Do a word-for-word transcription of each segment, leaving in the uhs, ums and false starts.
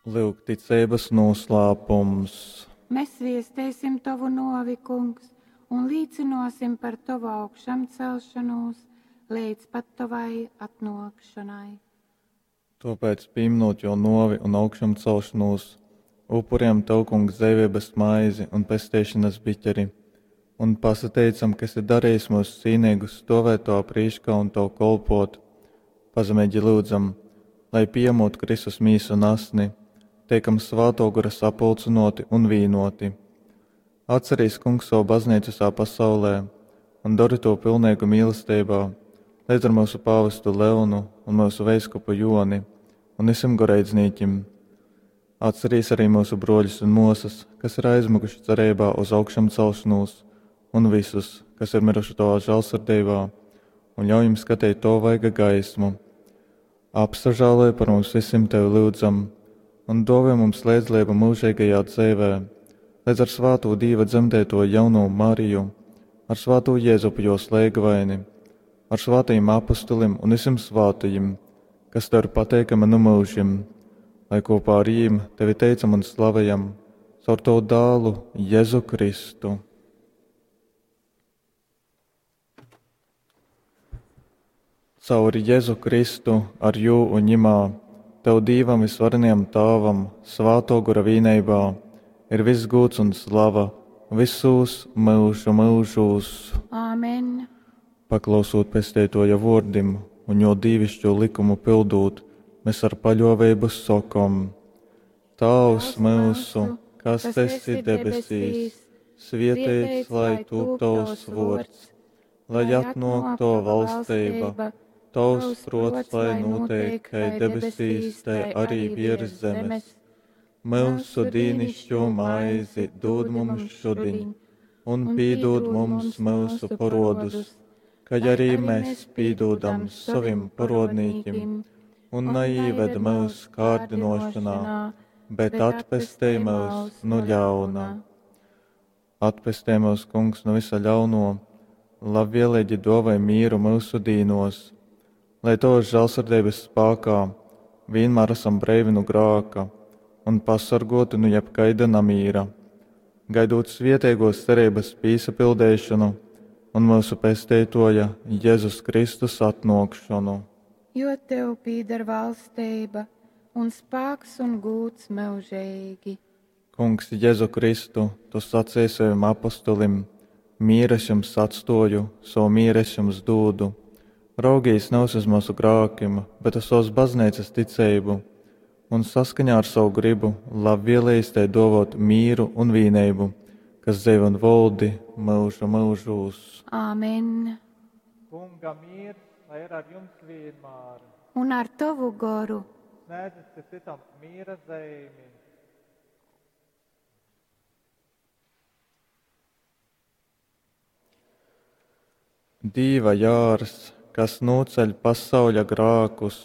Lyuk, ticeibas noslēpums. Mēs viestēsim Tavu novi, Kungs, un līcinosim par Tavu augšamcelšanos līdz pat Tavai atnākšanai. Tāpēc, pieminot jo novi un augšamcelšanos, upuriem Tev, Kungs, dzīvības maizi un pestīšanas biķeri, un pasateicam, ka esi darījis mūs cīnīgus stovēt Tavā prīškā un Tev kolpot. Pazemīgi lūdzam, lai pieņemot Kristus mīsu un asni, tiekam Svētō Gara sapulcinoti un vīnoti. Atcerīs, Kungs, savu baznīcu visā pasaulē un dari to pilnīgu mīlestībā, līdz ar mūsu pāvestu Leonu un mūsu veiskupu Joni un visiem goreidznīķim. Atcerīs arī mūsu broļus un mosas, kas ir aizmukuši cerībā uz augšamcelšanos, un visus, kas ir miruši Tavā žēlsirdībā, un ļauj jums skatīt to vaiga gaismu. Apsažāloj par mums visiem Tevi lūdzam, un dāvā mums līdzdalību mūžīgajā dzīvē, līdz ar svāto Dieva dzemdēto jauno Mariju, ar svāto Jēzupu jo slēgvaini, ar svātajiem apustulim un visiem svātajiem, kas Tev ir pateikami nu mūžim, lai kopā ar jīm Tevi teicam un slavējam caur Tavu dālu Jēzu Kristu. Caur Jēzu Kristu, ar jū un ņimā, Tev Dīvam visvarenajam Tāvam, Svāto Gora vīneibā, ir viss gūts un slava visos mūžu mūžos. Āmen. Paklausot pestītoja vārdim un jo dīvišķo likumu pildūt, mēs ar paļāvību sakom: Tēvs mūsu, kas esi debesīs, svētīts lai tūp tavs vārds, lai atnāk tava valstība, tavs prots lai notiek, kai debesīs, tai arī virs zemes. Mūsu dīnišķo maizi dod mums šodien, un pīdod mums mūsu parodus, ka arī mēs pīdodam savim parodnīkim, un neīved mūsu kārdinošanā, bet atpestī mūs no ļauna. Atpestī mūs, Kungs, no visa ļauno, labvēlīgi dāvāj mieru mūsu dīnos, lai Tavas žēlsirdības spēkā vienmēr esam brīvi no grāka un pasargoti no jebkaida namīra, gaidot svietēgos cerības pīsapildēšanu un mūsu pestītoja Jēzus Kristus atnākšanu. Jo Tev pīdar valstība un spēks un gūts mūžīgi. Kungs, Jēzu Kristu, Tu sacīji saviem apustulim: mieru es jums atstoju, savu mieru es jums dūdu. Raugīs nevis uz mūsu grākim, bet uz savas baznīcas ticību, un saskaņā ar savu gribu labvēlījis tai dovot mīru un vīnību, kas dzīvo un valdi mūžu mūžos. Āmen. Kunga miers, lai ir ar jums vienmēr. Un ar tavu goru. Sniedzat citam miera zīmi. Dīva jārs, kas noceļ pasauļa grākus,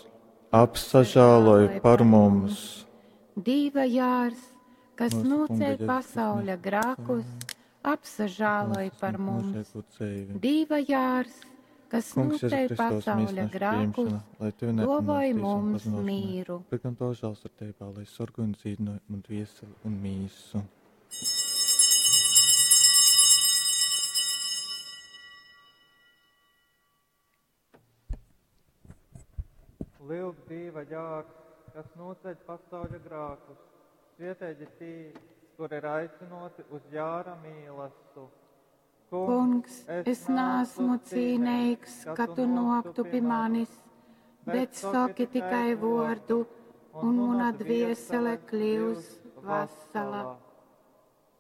apsažāloj par mums. Dīva jārs, kas Mūsu Kunga noceļ Jēzus pasauļa grākus, apsažāloj par mums. Mūžīgo dzīvi. Dīva jārs, kas Kungs, Jēzu noceļ Kristus, pasauļa mīsnašu grākus, pieņemšana, lai Tevi dāvāj neapmācīs un mums pazinošanai. mīru. Bet gan Tavā žēlsirdībā, lai sargāj un dzīvināj un dvieseli un mīsu. Lūk, Dieva jārs, kas noceļ pasauļa grākus, svietēji tī, kur ir aicinoti uz jāra mīlastu. Kungs, es neesmu cīnīgs, ka tu noktu pie manis, bet saki tikai vārdu, un mana dviesele kļūs vesela.